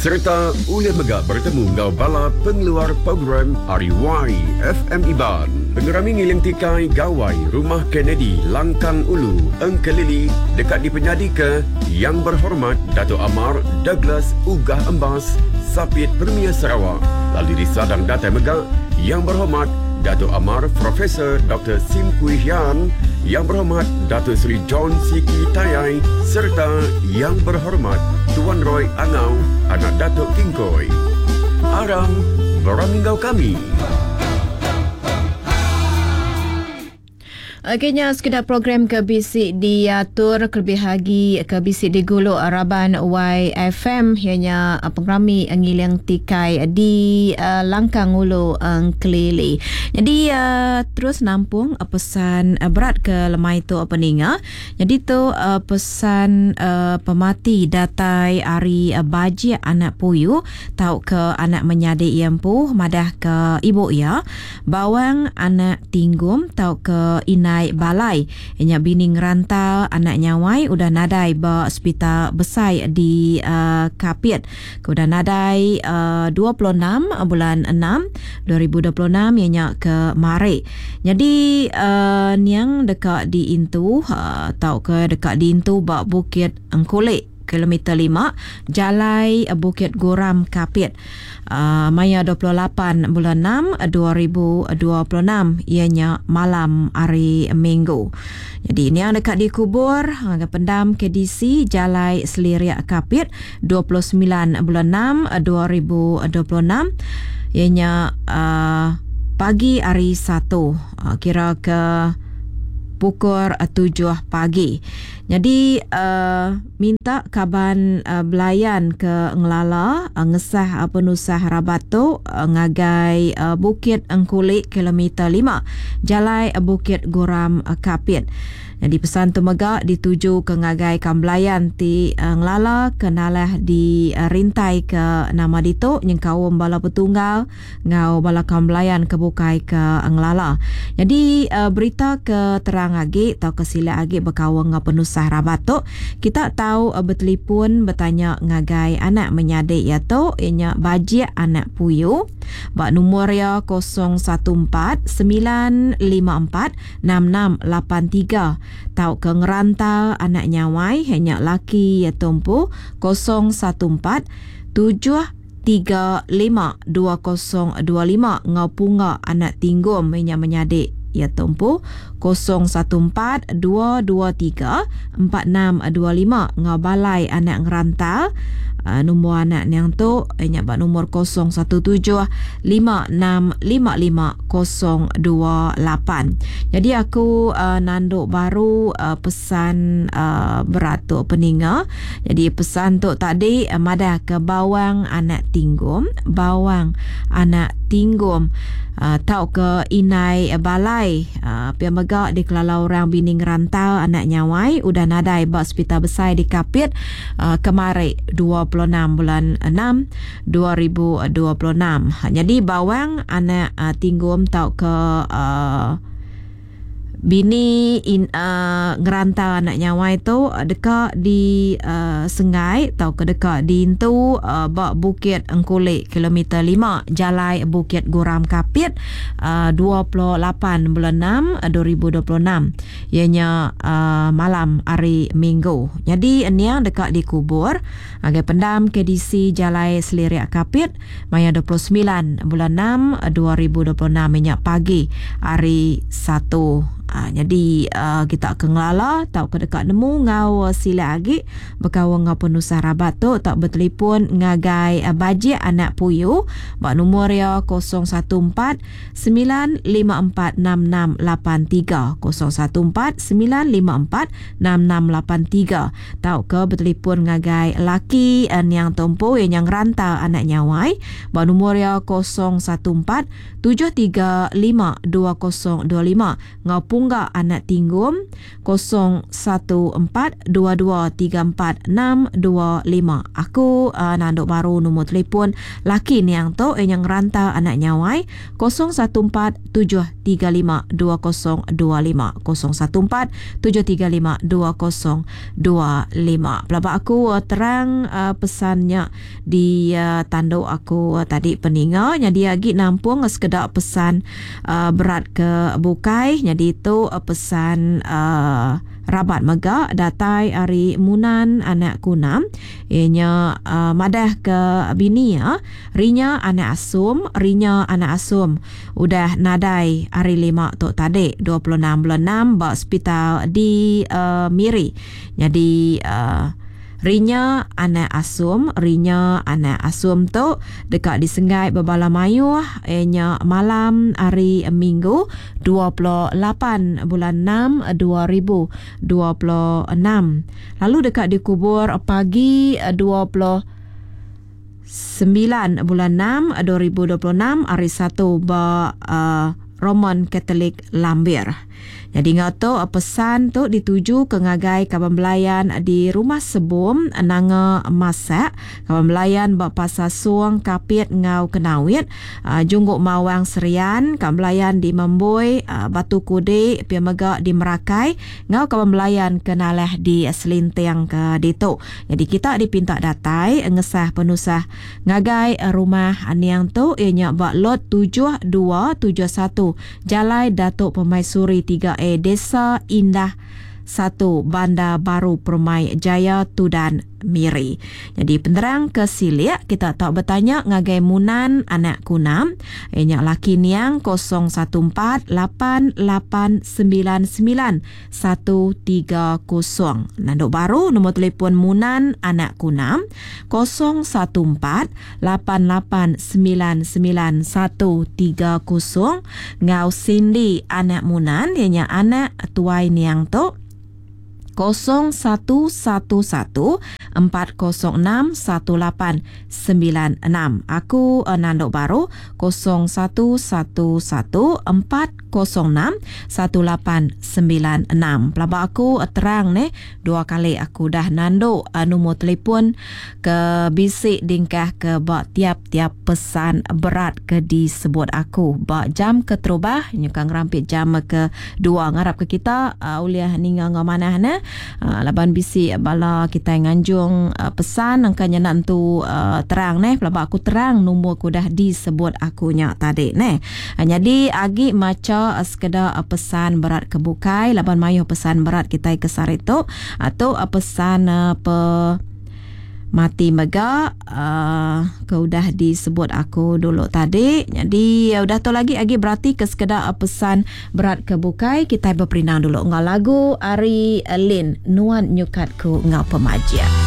Sereta ulih mega bertemu enggau bala pengeluar program ari YFM Iban. Pengerami Ngiling Tikai Gawai Rumah Kennedy Langkang Ulu, Engkelili deka dipenyadika Yang Berhormat Datuk Amar Douglas Uggah Embas, Sapit Premier Sarawak lalu disadang datai mega Yang Berhormat Datuk Amar Profesor Doktor Sim Kui Hian, Yang Berhormat Dato Sri John Sikie Tayai sereta Yang Berhormat Tuan Roy Angau anak Datuk Kingkoi. Aram berami enggau kami. Okey nya sekeda program ke bisi diatur kelebih agi ke bisi digulu raban YFM iya nya pengerami ngiling tikai di Langkang Ulu Engkelili. Nyadi terus nampung pesan berat ke lemai tu peninga. Nyadi tu pesan pemati datai ari Bajik anak Puyu tauka anak menyadi iya empu madahka ibu iya Bawang anak Tinggum tauka Indai Balai nya bini ngeranta anak Nyawai udah nadai ba sepital besai di Kapit ke udah nadai 26 bulan enam 2026 iya nya ke mari. Nyadi niang deka diintu tauka deka diintu ba Bukit Engkulik. Kilometer lima, Jalai Bukit Guram Kapit maya 28 bulan enam 2026 iya nya malam hari Minggu. Nyadi niang deka dikubur ngagai pendam KDC Jalai Selirik Kapit 29 bulan enam 2026 iya nya pagi hari Satu kira ke pukul tujuh pagi. Nyadi minta kaban belayan ke ngelala ngesah penusah rabat tu ngagai Bukit Engkuli kilometer lima Jalai Bukit Guram Kapit. Nyadi pesan tu mega dituju ke ngagai kaban belayan ti ngelala ke nalah di rintai ke nama ditu nyengkaum bala petunggal enggau bala kaum belayan ke bukai ke ngelala. Nyadi berita ke terang agi tauka silik agi bekaul enggau penusah rabat tu, kita tau betelipun betanya ngagai anak menyadi iya tu iya nya Bajik anak Puyu ba numur iya 014 954 6683 tauka ngeranta anak Nyawai iya nya laki iya tu empu 014 7 352025 enggau Pungga anak Tinggum iya nya menyadi iya tu empu 014 223 4625 enggau Balai anak Ngerantal nombor anak niang tu iya nya ba nombor 017 5655 028. Nyadi aku nandu baru pesan berat tu peninga. Jadi pesan tu tadi madah ke bawang anak tinggum, bawang anak tinggum tauka indai balai pia mega dikelala orang bini ngerantau anak nyawai udah nadai ba sepital besai di Kapit kemari 26 bulan 6 2026. Nyadi bawang anak tinggum tauka Bini ngeranta anak nyawai tu deka disenggai tauka deka diintu ba Bukit Engkuli kilometer lima Jalai Bukit Guram Kapit 28 bulan enam 2026 iya nya malam hari Minggu. Nyadi niang deka dikubur ngagai pendam KDC Jalai Selirik Kapit maya 29 bulan enam 2026 iya nya pagi hari Satu. Nyadi kita ke ngelala tauka deka nemu enggau silik agi bekaul enggau penusah rabat tu tau betelipon ngagai Bajik anak Puyu ba numur iya 014 954 6683 014 954 6683 tauka betelipon ngagai laki niang tu empu iya nya ngeranta anak nyawai ba numur iya 014 735 2025 enggau. Pungga anak Tinggum 014 2234 625. Aku nandu baru nombor telefon laki niang tu ianya ngeranta anak Nyawai 014 735 2025 014 735 2025. Pelaba aku terang pesan nya di tandu aku tadi peninga nyadi agi nampung sekeda pesan berat ke bukai nyadi tu pesan rabat mega datai ari Munan anak Kunam iya nya madah ke bini iya Rinya anak Asum Rinya anak Asum udah nadai hari lima tu tadi 26 bulan enam ba sepital di Miri nyadi Rinya anak Asum Rinya anak Asum tu deka disenggai bebala mayuh iya nya malam hari Minggu 28 bulan enam 2026 lalu deka dikubur pagi 29 bulan enam 2026 hari Satu ba Roman Katolik Lambir. Nyadi enggau tu pesan tu dituju ke ngagai kaban belayan di Rumah Sebum Nanga Masak, kaban belayan ba Pasar Song Kapit enggau Kenawit, Junggok Mawang Serian, kaban belayan di Memboi, Batu Kudi pia mega di Merakai enggau kaban belayan ke nalah di Selinting ke ditu. Nyadi kita dipinta datai ngesah penusah ngagai rumah niang tu iya nya ba Lot 7271 Jalai Dato Permaisuri 3A Desa Indah 1 Bandar Baru Permai Jaya Tudan Miri. Nyadi penerang ke silik kita tau betanya ngagai Munan anak Kunam iya nya laki niang 014 8899 130. Nandu baru nombor telefon Munan anak Kunam 014 8899 130 enggau Cindy anak Munan iya nya anak tuai niang tu 0111 406 1896. Aku nandu baru 0111 406 1896. Pelaba aku terang neh dua kali aku udah nandu numur telefon ke bisi dingkah ke ba tiap-tiap pesan berat ke disebut aku ba jam keterubah nyuka ngerampit jam ke dua ngarap ke kita ulih ninga enggau manah neh laban bisi bala kitai nganjung pesan engka nya enda entu terang neh pelaba aku terang numur ke udah disebut aku nya tadi neh. Nyadi agi macha sekeda pesan berat ke bukai laban mayuh pesan berat kitai ke sehari tu. Tu pesan pe mati mega ke udah disebut aku dulu tadi. Nyadi udah tu lagi agi berati ke sekeda pesan berat ke bukai kitai beperindang dulu enggau lagu ari Lin Nuan Nyukat Ku Enggau Pemajik.